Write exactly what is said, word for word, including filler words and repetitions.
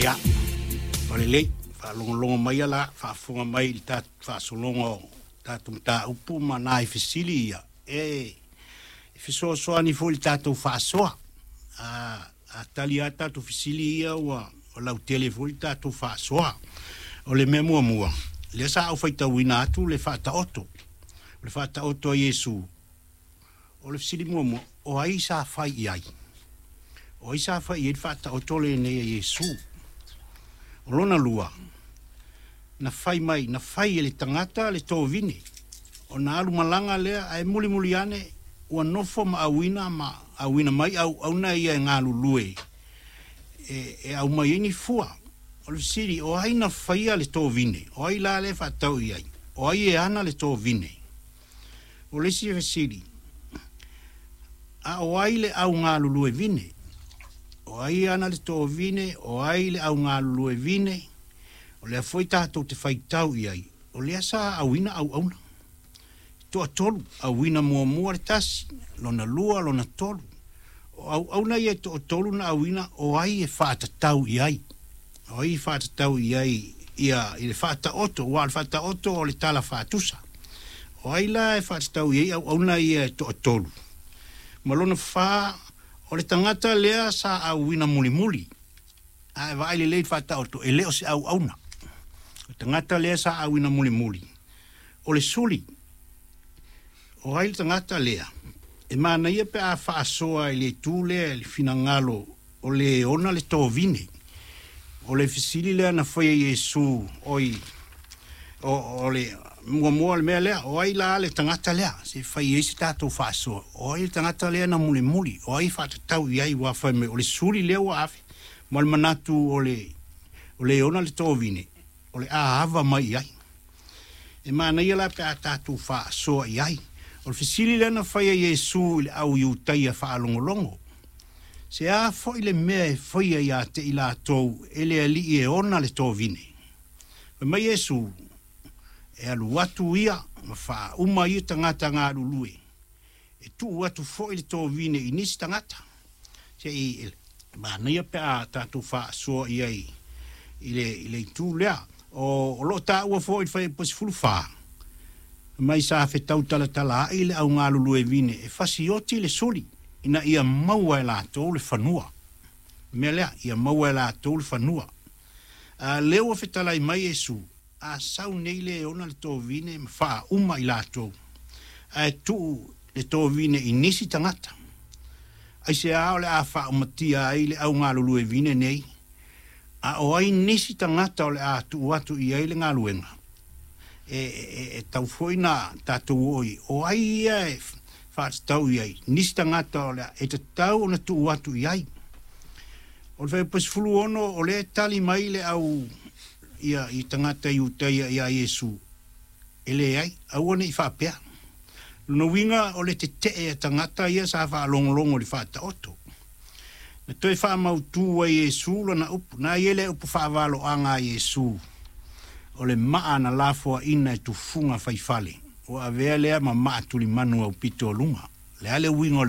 Ia, o lelei, faalogologo mai la, faafofoga mai i le tatou faasologa o tatou mataupu ma nai fesili ia, e fesoasoani foi i le tatou faasoa. A, a tali lava tatou fesili ia ua lautele foi le tatou faasoa. O le mea muamua, lea sa ou faitauina atu le faataoto, o le faataoto a Iesu. O le fesili muamua, o ai sa fai i ai? O ai sa fai i ai le faataoto lenei a Iesu? O lona lua, na fai mai, na fai e le tagata le tovine, ona alu malaga lea, ae mulimuli ane, ua nofo ma auina ma auina mai auauna ia e galulue, e, e aumai ai ni fua. O le fesili, o ai na faia le tovine? O ai la lea e faatatau i ai? O ai e ana le tovine? O le isi fesili, a o ai le au galulue vine? O ai e ana le tovine? O ai le au galulue vine? O lea foi tatou te faitau i ai, o lea sa auina auauna. Toatolu, auina muamua le tasi, lona lua, lona tolu. O auauna ia e toatolu na auina, o ai e faatatau i ai? O ai e faatatau i ai ia, i le faataoto, aua o le faataoto o le tala faatusa. O ai la e faatatau i ai auauna ia e toatolu? Ma lona fa, o le tagata lea sa auina mulimuli. A e vaai lelei i le faataoto, e le o se auauna. O le tagata lea sa auina mulimuli. O le suli, o ai le tagata lea? E manaia pe a faasoa i le itu lea i le finagalo o le ona le tovine. O le fesili lea na faia Iesu, oi, o, o le muamua le mea lea, o ai la le tagata lea, se fai ai se tatou faasoa, o ai le tagata lea na mulimuli, o ai faatatau i ai ua fai mai, o le suli lea ua ave, ma le manatu o le, o le ona le tovine, o le a ava mai i ai. E manaia la pe a tatou faasoa i ai. O le fesili lea na faia Iesu i le au Iutaia faalogologo. Se a foi le mea e faia ia te i latou e le alii e ona le tovine. Fai mai Iesu, e alu atu ia ma faauma ia tagata galulue. E tuu atu foi le tovine i nisi tagata. Se i manaia pe a tatou faasoa i ai i le, i le itu lea. O, o loo taua foi i le fuaiupu sefulu fa, mai sa fetau talatala ai le au galulue vine e fasioti le suli ina ia maua e latou le fanua. Mea lea, ia maua e latou le fanua. A lea ua fetalai mai Iesu, a sau nei le ona le tovine ma faauma i latou, ae tuu le tovine i nisi tagata. Aisea o le a faaumatia ai le au galulue vine nei, a o ai nisi tagata o le a tuu atu i ai le galuega. E, e, e tau foi na tatou oo i, o ai ia e faatatau i ai, nisi tagata o le a, e tatau ona tuu atu i ai. O le fuaiupu sefulu ono, o lea e tali mai le au ia, i tagata Iutaia ia Iesu, e leai, aua ne i faapea. Lona uiga o le tetee a tagata ia sa faalogologo i le faataoto. Na toe faamautu ai Iesu lana upu, na i ai le upu faavaloaga a Iesu, o le maa na lafoaina e tufuga faifale, ua avea lea ma maa tulimanu aupito o luga. Le a le uiga o le